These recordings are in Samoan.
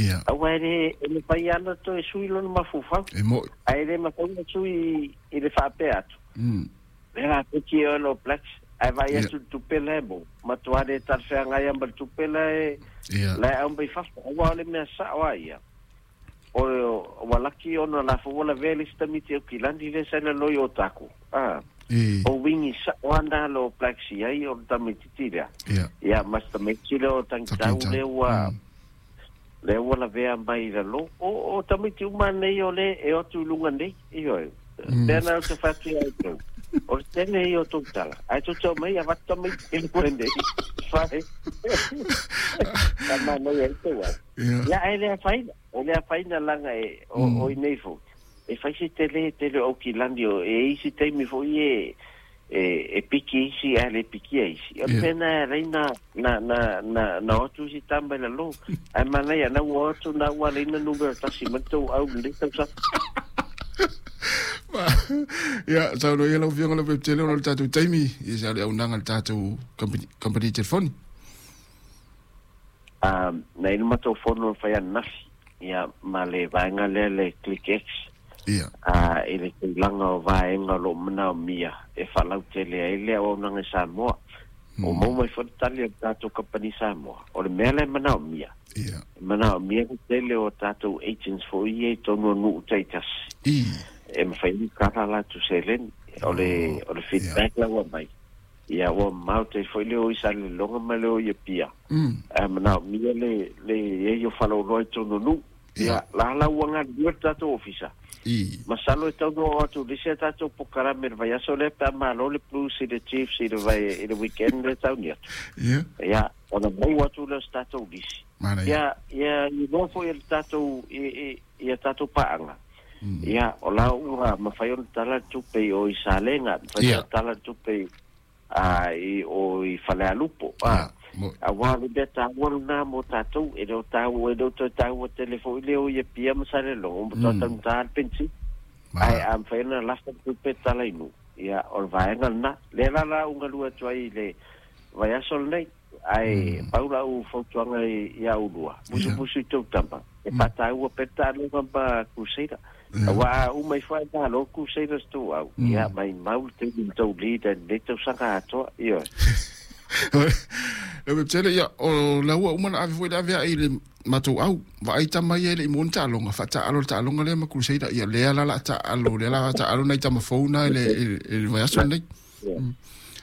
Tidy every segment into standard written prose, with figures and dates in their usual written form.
Ia. Aua e le mafai lava ona toe sui lona mafaufau. E mo'i. Ae le mafai ona sui i le faapea atu. Le la peki e All Blacks, ae vaai atu i le tupe la e maua, matua le talafeagai lava ma le tupe la e la e aumai fafo. Aua o le mea sa'o lava ia, o ua laki ona o la foi ua lavea le isi tamaiti Aukilani lea sa i lalo i Otago, a. O wingi sa'o lava na a le All Blacks i ai o le tamaitiiti lea. Ia ma si tamaiti lea o Tangitau lea ua lea ua lavea mai i lalo. O tamaiti uma nei o lea e o atu i luga nei, ioe. Lea na ou te fai atu ia outou, o le tele ia o tou tala, ae tou te omai avatu tamaiti i luga nei, fai. Ka manaia ai tou au. Ia, ae le afaina, e le afaina laga e, o i nei foi, e fai se tele tele o Aukilani, o e i isi taimi foi e, e piki isi ae le pikia isi. O le mea lena e ala ai na o atu isi tama i lalo. Ae manaia, na ua o atu na ua ala ai na numera tasi mai le tou au i lenei tausaga. Ia, saunoa ia lau Afioga Lopepetele ona o le tatou taimi, ia sa o le auaunaga a le tatou kamupani telefoni. Na i ai le matou fono na fai ananafi, ia, ma le vaega lea le Click X, i le tulaga o vaega o lo o manaomia e faalautele ai le auaunaga i Samoa. Ua maua mai foi le tali a le tatou kamupani Samoa, o le mea la e manaomia, e manaomia le tele o tatou agents foi ia i totonu o nuu taitasi, e mafai ona kala latou seleni. O le feedback la ua aumai, ia ua mamao tele foi le o i Salelologa ma le o i Apia, ae manaomia le i ai o faleoloa i totonu o nuu. Ia, la la ua galulue le tatou ofisa. Masalo e tatau ona oo atu i le isi a tatou polokalame i le vaiaso lea pe a malo le Blues i le Chiefs i le vai i le weekend lea e tauni atu. Ia, ona maua atu lea o se tatou lisi. Ia, ia iloa foi e le tatou i i a tatou paaga. Ia, o la ua mafai ona tala le tupe i o i Salega, mafai ona tala le tupe i a i o i Falealupo, a, aua o le mea taua lena mo tatou, e le o taua, e le o toe taua tele foi le o i Apia ma Salelologa, ua matua taugata le penisini. Ae a mafai ona lafa le tupe tala i nuu, ia, o le vaega lena. Lea la la ou galue atu ai i le vaiaso lenei, ae pau lau fautuaga ia oulua, musumusu i tou tama, e faataua pea le taaloga ma Crusader. Aua a uma ifo ae malo Crusaders tou au, ia maimau le taimi ma tou leader i lenei tausaga atoa, ioe. Lau Webtele, ia, o la ua uma na ave foi le ave ai i le matou au. Vaai tama ia e le i maua ni taaloga, faataalo le taaloga lea ma Crusader. Ia, lea la la taalo, lea la taalo nai tama fou na i le vaiaso lenei.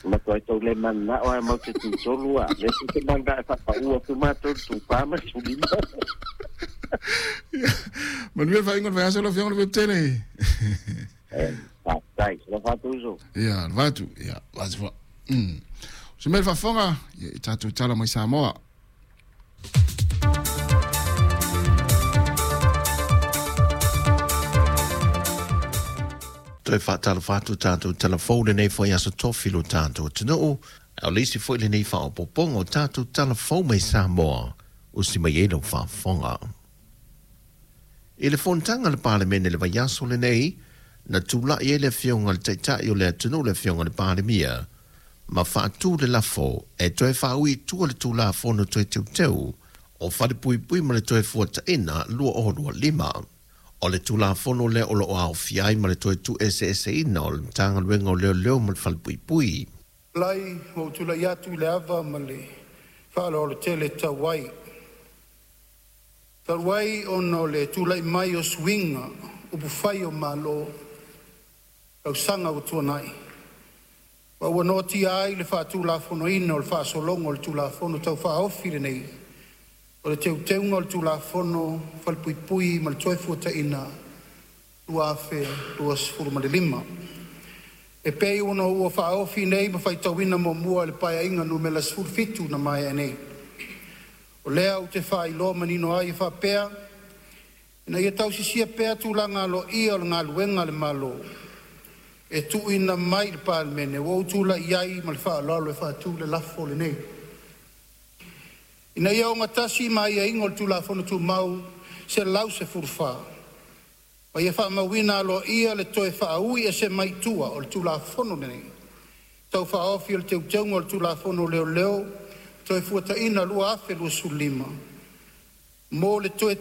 Matua tou le mananao ae mau te tutolu a. Le tou te mananao e faapau atu matou i le tupa ma le tulima. Manuia le faaiuga o le vaiaso lau Afioga Lopepetele. Faafetai. Alofa atu uso. Ia, alofa atu. Ia, vasi foi. Se mea le faafofoga, ia, i tatou tala mai Samoa. Toe faatalofa atu tatou tala fou lenei foi aso tofi lo tatou atunuu. A o le isi foi lenei faaopoopoga o tatou tala fou mai Samoa, usi mai ai lau faafofoga. I le fonotaga a le Palemene i le vaiaso lenei, na tulai ai le Afioga i le Taitai o le atunuu le Afioga i le Palemia, ma faatu le lafo e toe faaui i tua le Tulafono Toe Teuteu o Falepuipui ma le Toefuataiga 2025. O le Tulafono lea o lo o aofia ai ma le toe tuueseeseina o le Matagaluega o Leoleo ma le Falepuipui. Lai ua ou tulai atu i le ava ma le faaaloalo tele e tatau ai. Talu ai ona o le tulai mai o suiga upufai o Malo tausaga ua tuanai, ma ua noatia ai le faatulafonoina o le faasologa o le Tulafono Tau Faaofi lenei o le Teuteuga o le Tulafono o Falepuipui ma le Toefuataiga 2025. E pei ona ua faaofi nei ma faitauina muamua e le Paeaiga numera 17 na maea nei. O lea ou te faailoa manino ai e faapea, ina ia tausisia pea tulaga aloaia o le galuega a le Malo e tuuina mai i le Palemene, ua ou tulai ai ma le faaaloalo e faatu le lafo lenei, Ina ia ogatasi ma aiaiga o le Tulafono Tumau 114, ma ia faamauina aloaia le toe faaui ese mai tua o le Tulafono lenei Tau Faaofi o le Teuteuga o le Tulafono o Leoleo Toefuataiga 2025, mo le toe